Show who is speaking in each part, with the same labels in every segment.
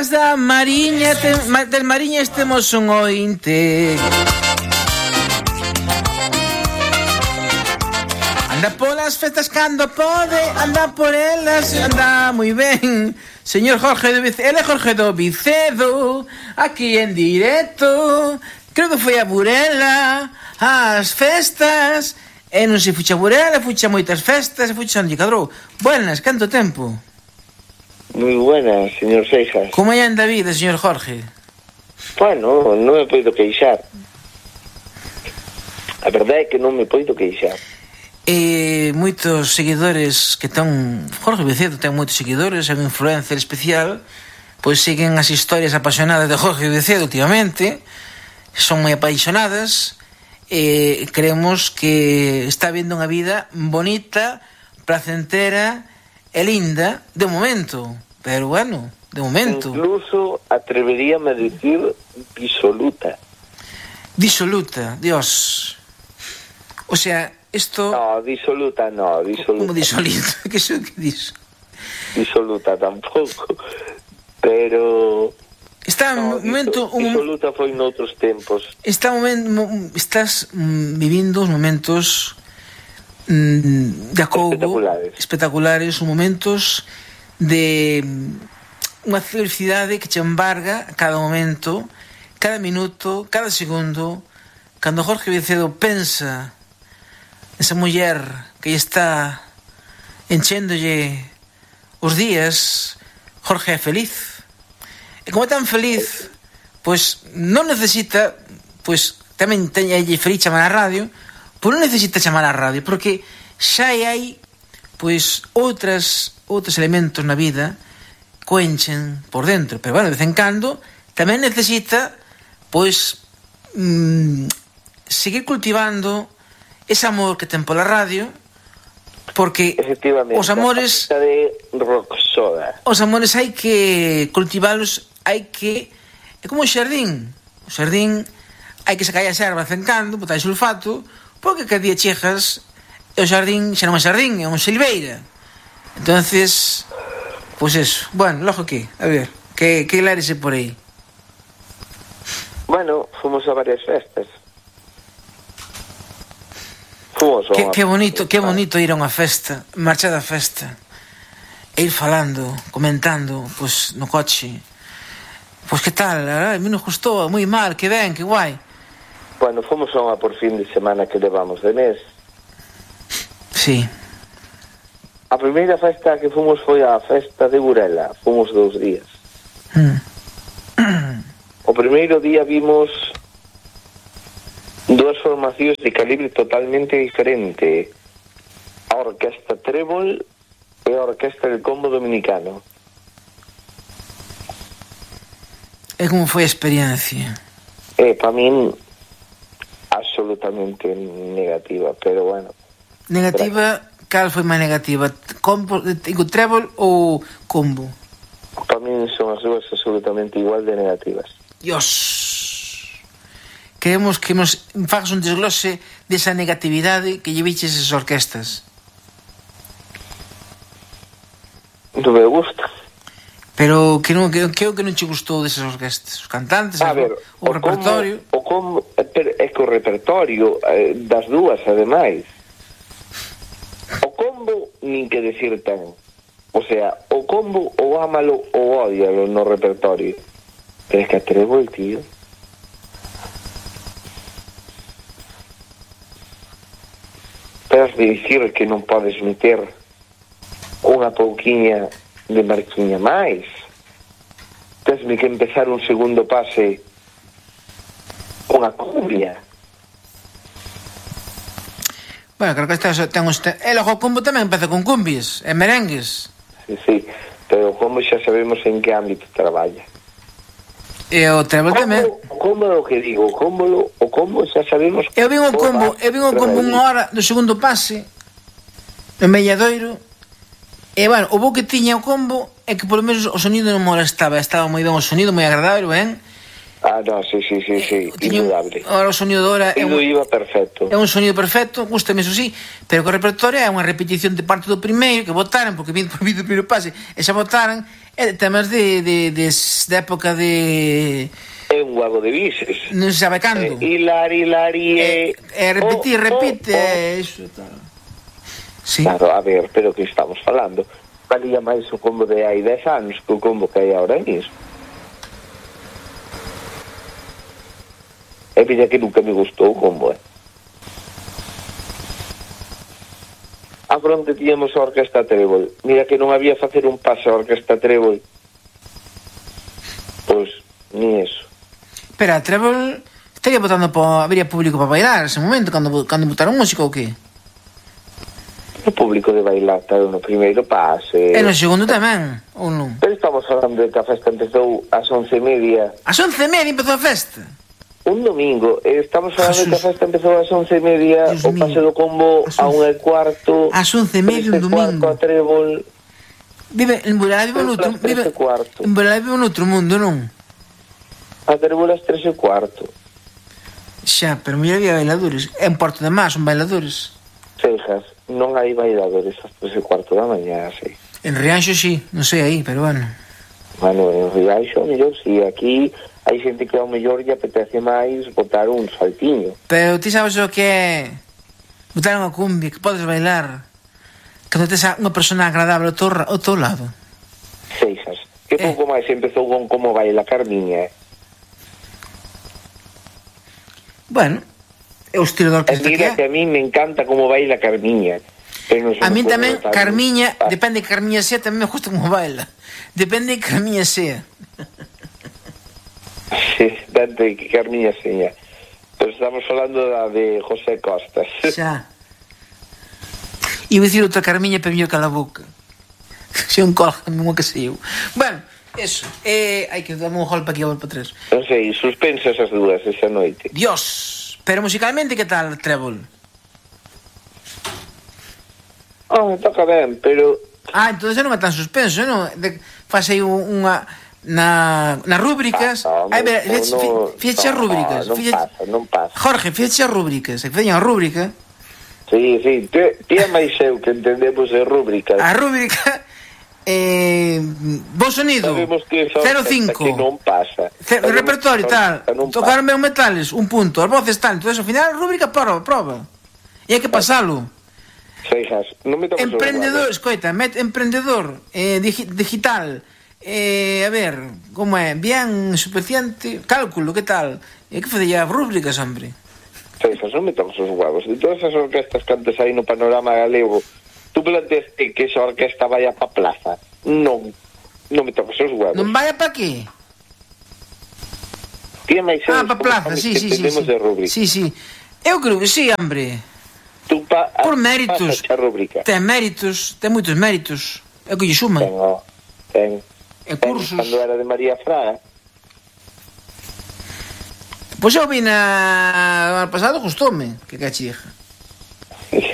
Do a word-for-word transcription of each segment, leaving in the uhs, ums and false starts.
Speaker 1: Da Mariña, te, del Mariña temos un ointe. Anda polas festas cando pode, anda por elas, anda moi ben. Señor Jorge do Vicedo, ele é Jorge do Vicedo, aquí en directo. Creo que foi a Burela, as festas. E non se fucha a Burela, fucha moitas festas, fucha onde cadrou. Buenas, canto tempo?
Speaker 2: Moi buenas, señor Seixas.
Speaker 1: Como é anda a vida, señor Jorge?
Speaker 2: Bueno, non me poido queixar. A verdade é que non me poido queixar.
Speaker 1: E moitos seguidores que ten Jorge Vicedo ten moitos seguidores, é un influencer especial, pois siguen as historias apasionadas de Jorge Vicedo últimamente, son moi apaixonadas e creemos que está vindo unha vida bonita, placentera e linda de momento, pero bueno, de momento.
Speaker 2: Incluso atreveríame a decir disoluta.
Speaker 1: Disoluta, Dios. O sea, esto...
Speaker 2: No, disoluta no, disoluta.
Speaker 1: Como disoluta? Que é que diso?
Speaker 2: Disoluta tampouco, pero...
Speaker 1: Está
Speaker 2: no,
Speaker 1: un momento... Un...
Speaker 2: Disoluta foi noutros tempos.
Speaker 1: Está un momento... Estás mm, vivindo os momentos... de acougo
Speaker 2: espectaculares.
Speaker 1: espectaculares, os momentos de unha felicidade que che embarga a cada momento, cada minuto, cada segundo. Cando Jorge Vicedo pensa esa muller que está enchéndolle os días, Jorge é feliz. E como é tan feliz, pois non necesita, pois tamén teñalle feliz chamar a radio, pois non necesita chamar a radio, porque xa hai pois outras outros elementos na vida que enchen por dentro, pero bueno, de vez en cando tamén necesita pois mmm, seguir cultivando ese amor que ten pola radio, porque os amores
Speaker 2: de Roxoda.
Speaker 1: Os amores hai que cultivalos, hai que é como o xardín, o xardín hai que sacar a serva de vez en cando, botar sulfato, porque cada día chegas e o xardín xa non é xardín, é unha silveira. Entonces, pois pues eso. Bueno, logo que, a ver, que, que lárese por aí.
Speaker 2: Bueno, fomos a varias festas. Fomos a
Speaker 1: que,
Speaker 2: unha...
Speaker 1: que bonito, que bonito ir a unha festa, marchar da festa e ir falando, comentando, pois, pues, no coche. Pois pues, que tal? A mí nos gustou, moi mal, que ben, que guai.
Speaker 2: Bueno, fomos a unha por fin de semana que levamos de mes.
Speaker 1: Sí.
Speaker 2: A primeira festa que fomos foi a festa de Burela. Fomos dous días.
Speaker 1: Mm.
Speaker 2: O primeiro día vimos dúas formacións de calibre totalmente diferente. A Orquesta Trébol e a Orquesta del Combo Dominicano.
Speaker 1: E como foi a experiencia?
Speaker 2: Eh, para min absolutamente negativa, pero bueno.
Speaker 1: Negativa, cal foi máis negativa? Combo, digo, Trébol ou Combo?
Speaker 2: Para min son as dúas absolutamente igual de negativas.
Speaker 1: Dios. Queremos que nos fagas un desglose desa negatividade que lle viches esas orquestas.
Speaker 2: Non me gusta.
Speaker 1: Pero que non que, que, que non che gustou desas orquestas? Os cantantes,
Speaker 2: a ver,
Speaker 1: o, o repertorio?
Speaker 2: O como, é que o repertorio eh, das dúas, ademais. O combo, nin que decir ten. O sea, o combo ou ámalo ou ódialo no repertorio. Pero é que atrevo el tío. Pero has de dicir que non podes meter unha pouquiña de marquiña máis. Tesme que empezar un segundo pase unha cumbia.
Speaker 1: Bueno, creo que esta ten uns... E logo o combo tamén empeza con cumbias e merengues.
Speaker 2: Sí, sí, pero o combo xa sabemos en que ámbito traballa.
Speaker 1: E o Trébol tamén.
Speaker 2: O combo é o que digo, o combo, o combo xa sabemos...
Speaker 1: Eu vin o combo, eu vin o combo unha hora do segundo pase en Melladoiro. E, bueno, o bo que tiña o combo é que polo menos o sonido non molestaba, estaba moi ben o sonido, moi agradable, ben?
Speaker 2: Ah, no, sí, sí, sí, sí,
Speaker 1: eh,
Speaker 2: indudable.
Speaker 1: Ahora o sonido de hora é un,
Speaker 2: iba perfecto.
Speaker 1: É un sonido perfecto, gustame eso sí, pero que o repertorio é unha repetición de parte do primeiro que votaran, porque vindo por vídeo primeiro pase, e xa votaran, e temas de, de, de, de época de...
Speaker 2: É un guago de bises.
Speaker 1: Non se sabe cando.
Speaker 2: Eh, hilar, hilar, e...
Speaker 1: E repetir,
Speaker 2: oh,
Speaker 1: repite,
Speaker 2: oh, oh.
Speaker 1: e iso tal. Sí.
Speaker 2: Claro, a ver, pero que estamos falando? Valía máis o combo de hai dez anos que o combo que hai ahora mismo. É vida que nunca me gustou o combo, eh? A fronte tíamos a Orquesta Trébol. Mira que non había facer un paso a Orquesta Trébol. Pois, ni eso.
Speaker 1: Pero a Trébol estaría votando por... Habría público para bailar ese momento, cando, cando votaron música ou que?
Speaker 2: O público de bailar está no primeiro pase.
Speaker 1: E no segundo tamén, ou non?
Speaker 2: Pero estamos falando de que a festa empezou ás once e media.
Speaker 1: Ás once e media empezou a festa?
Speaker 2: Un domingo. Estamos falando de que a festa empezou ás once e media, Dios o pase do combo a un e cuarto.
Speaker 1: Ás once e media un domingo.
Speaker 2: A Trébol.
Speaker 1: Vive, en Burela vive un outro, vive, en Burela vive un outro mundo, non?
Speaker 2: A Trébol ás tres e cuarto.
Speaker 1: Xa, pero mira, había bailadores. En Porto de Mar son bailadores.
Speaker 2: Seijas, non hai bailadores ás tres e cuarto da mañá, sí.
Speaker 1: En Rianxo sí, non sei aí, pero bueno.
Speaker 2: Bueno, en Rianxo, mellor, sí, aquí hai xente que ao mellor lle apetece máis botar un saltiño.
Speaker 1: Pero ti sabes o que é botar unha cumbia, que podes bailar cando tes unha persona agradable ao teu, ao teu lado.
Speaker 2: Seijas, que eh. pouco máis empezou con Como Baila Carmiña, eh?
Speaker 1: Bueno, é o estilo da orquesta que é.
Speaker 2: Mira que a mí me encanta Como Baila Carmiña. Pero
Speaker 1: a mí tamén, Carmiña, ah. depende de que Carmiña sea, tamén me gusta como baila. Depende de que Carmiña sea.
Speaker 2: Sí, depende de que Carmiña sea. Pero estamos falando da de José Costas.
Speaker 1: Xa. E vou dicir outra Carmiña para mellor cala boca. Se un colga, mesmo que sei eu. Bueno, eso. Eh, hai que dar un golpe aquí a volta para tres.
Speaker 2: Non sei, suspensa esas dúas esa noite.
Speaker 1: Dios! Pero musicalmente que tal, Trébol?
Speaker 2: Oh, toca ben, pero...
Speaker 1: Ah, entón non é tan suspenso, non? De, faz aí unha... Na, nas rúbricas...
Speaker 2: Pasa,
Speaker 1: Ai, ver, no, fíxate as rúbricas.
Speaker 2: Non
Speaker 1: fíxate,
Speaker 2: pasa, non pasa.
Speaker 1: Jorge, fíxate as rúbricas. Se feñan a rúbrica...
Speaker 2: Sí, sí, ti é máis eu que entendemos as rúbricas.
Speaker 1: A rúbrica... Eh, bo sonido cero cinco
Speaker 2: que non pasa
Speaker 1: C el repertorio tal tocaron ben metales un punto, as voces tal, entonces ao final a rúbrica prova, prova e hai que pasalo.
Speaker 2: Seijas, non me toques
Speaker 1: emprendedor, escoita, met, emprendedor eh, digi, digital eh, a ver, como é bien suficiente, cálculo, que tal e que fodella as rúbricas, hombre.
Speaker 2: Seijas, non me toques os huevos de todas as orquestas que antes hai no panorama galego. Tú planteaste que esa orquesta vaya pa plaza. Non, non me toques os huevos.
Speaker 1: Non vaya pa qué?
Speaker 2: Tía máis
Speaker 1: ah, pa plaza, sí, sí, sí, sí. Sí, sí. Eu creo que sí, hombre.
Speaker 2: Tú pa,
Speaker 1: por méritos. Ten méritos, ten moitos méritos. É o que lle suma.
Speaker 2: Ten, oh, ten.
Speaker 1: E cursos.
Speaker 2: Cando era de María Fraga.
Speaker 1: Pois eu vi na... ano pasado, gustoume, que cachija.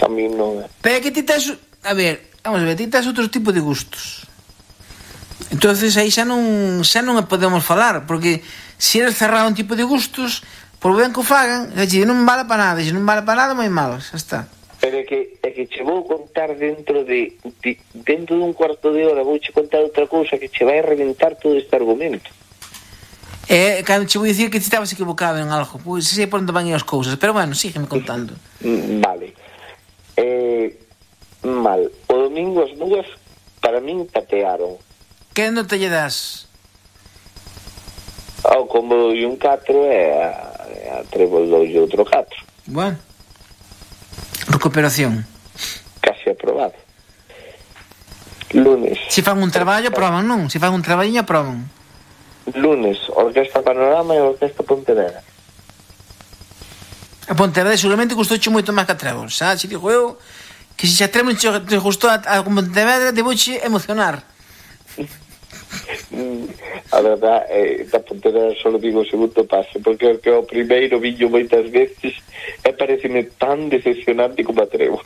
Speaker 2: A mí non.
Speaker 1: Pero que ti tes... A ver, vamos a ver, ti tes outro tipo de gustos. Entonces aí xa non xa non podemos falar, porque se eres cerrado un tipo de gustos, por ben que o fagan, xa non vale para nada, se non vale para nada, moi malo, xa está.
Speaker 2: Pero é que, é que che vou contar dentro de, de dentro dun cuarto de hora, vou che contar outra cousa que che vai reventar todo este argumento.
Speaker 1: É, cando che vou dicir que ti estabas equivocado en algo, pois sei por onde van as cousas, pero bueno, sígueme contando.
Speaker 2: Vale. Eh, mal. O domingo as dúas para min patearon.
Speaker 1: Que nota lle das?
Speaker 2: Ao combo doi un catro e a, a Trébol doi outro catro.
Speaker 1: Bueno. Recuperación.
Speaker 2: Casi aprobado. Lunes.
Speaker 1: Se fan un traballo, proban, non? Se fan un traballiño, proban.
Speaker 2: Lunes, Orquesta Panorama e Orquesta Pontevedra.
Speaker 1: A Pontevedra seguramente gustouche moito máis que a Trébol, xa? Se digo eu que se xa Trébol te gustou a, a Pontevedra, debouche emocionar.
Speaker 2: A verdad, eh, da Pontevedra só digo o segundo pase, porque o que o primeiro viño moitas veces e pareceme tan decepcionante como a Trébol.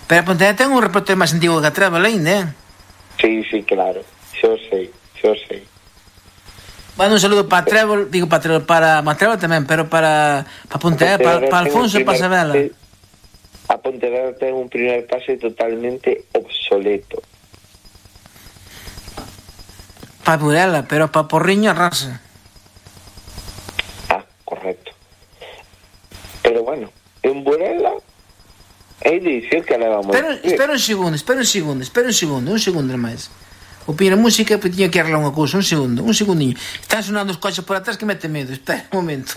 Speaker 1: Pero a Pontevedra ten un repertorio máis antigo que a Trébol ainda, eh?
Speaker 2: Sí, sí, claro, xo sei, xo sei.
Speaker 1: Mando un saludo para Trébol, digo para Trébol, para Matrébol tamén, pero para para Pontevedra, para, para Alfonso e para Sabela.
Speaker 2: A Pontevedra ten un primer pase totalmente obsoleto.
Speaker 1: Para Burela, pero para Porriño arrasa.
Speaker 2: Ah, correcto. Pero bueno, en Burela hai de dicir que levamos.
Speaker 1: Espera, espera un segundo, espera un segundo, espera un segundo, un segundo máis. O pira música, pois tiña que arreglar unha cousa, un segundo, un segundinho. Están sonando os coches por atrás que mete medo, espera un momento.